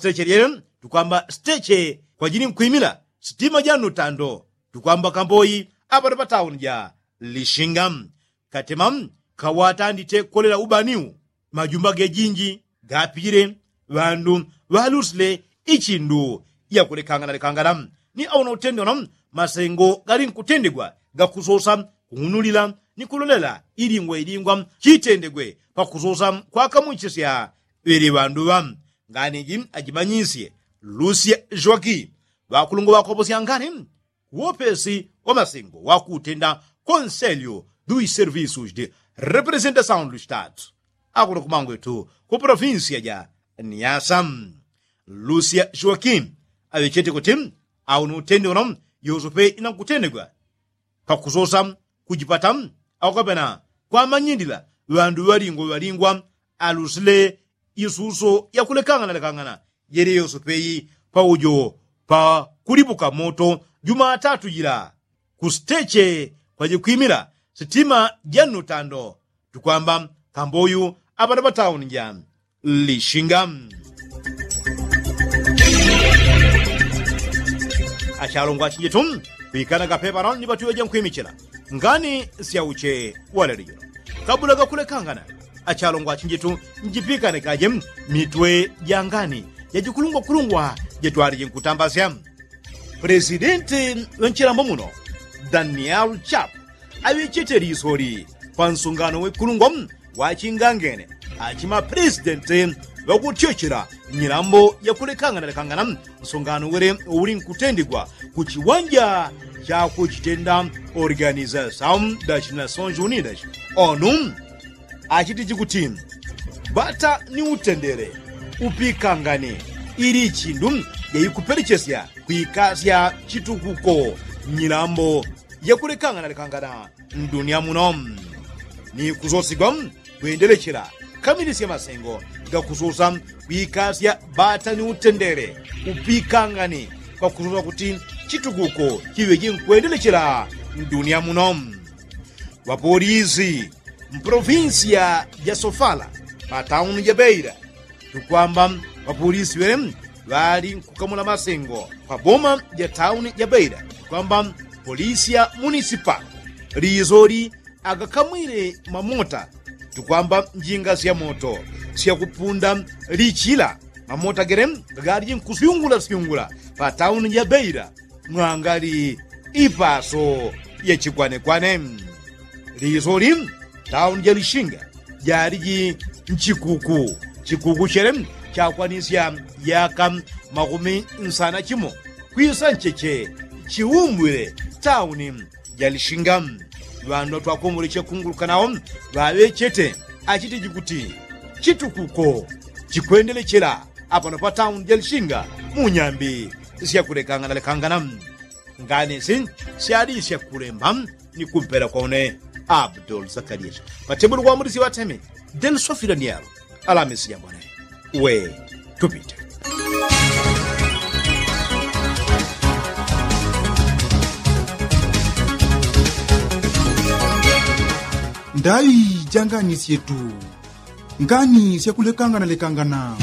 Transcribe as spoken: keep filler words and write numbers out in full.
steche lyele tukwamba steche kwajili nkwimila sitima ja nutando tukwamba kamboyi apano pa tauni ja lishinga. Katema kawatandite kolela ubaniu majumba gejinji gapijile ŵandu ŵalusile ichindu yakulekangana lekangana ni auna utendona masengo gali nkutendegwa gakusosa kung'unulila ni kulolela ilingwa ilingwa chitendegwe pakusosa kwakamwichisya ŵele ŵandu ŵa nganiji ajimanyisye lusya jwaki ŵakulungwa ŵakoposya ngani kuwopesi wa masengo wakutenda konselyo dui servisus de representasaun du statu akuno kumangwetu ku provinsia ja niasa. Lusia joakim aŵechete kuti auna utende uno yosope inankutendegwa pakusosa kujipata akukapena kwamanyindila ŵandu ŵalingwa ŵalingwa alusile isuso yakulekanganalekangana yele yosope iyi paujo pakulipuka moto jumatatu jila kusiteche kwajikwimila sitima ja nnutando tukwamba kamboyu apano patauni ja lishinga. Achalongwa achinjitu pikana kapepano ni patuwe jankwimichila ngani syauche walelejelo kabula gakulekangana achalongwa achinjitu njipikanikaje mitwe jangani jajikulungwakulungwa jetwaliji nkutambasya. Presidenti ŵa nchilambo muno daniel chap aŵechete lisoli pa nsungano wekulungwa wachingangene achimapresidenti ŵakutyochela nyilambo yakulekanganalekangana nsungano wele ulinkutendegwa ku chiwanja chakuchitenda organizasaun da chinasounji unidas onu achitiji kuti bata ni utendele upikangane ili ichindu jaikupelechesya kwikasya chitukuko nyilambo yakulekanganalekangana ndunia muno ni kusosigwa kwendelechela kamilisya masengo gakususa kwikasya bata ni utendele upikangane pakususa kuti chitukuko chiŵeje nkwendelechela ndunia muno. Ŵapolisi mpolofinsiya ja sofala patauni ja beira tukwamba ŵapolisi ŵele ŵali nkukamula masengo pa boma ja tauni ja beira tukwamba polisi ya munisipa lisoli agakamwile mamota tukwamba njinga sya moto syakupunda lichila mamota gele galiji nkusyungulasyungula patauni ja beira mwangali ipaso ya chikwanekwane. Lisoli tauni ja lishinga jaliji nchikuku chikuku chele chakwanisya yaka makumi nsana chimo kwisa ncheche chiumbwile tauni ja lishinga. Ŵandu ŵatwakomboleche kunguluka nawo ŵaŵechete achitiji kuti chitukuko chikwendelechela apano pa tauni ja lishinga mu nyambi syakulekanganalekangana. Nganisi syalisya kulemba ni kumpela kwa une abdul zakarias patebulu kwa mulisi ŵateme delsofila nialo alamisi yambone we tupite. Ndai janganisye tu ngani syakulekanganalekangana.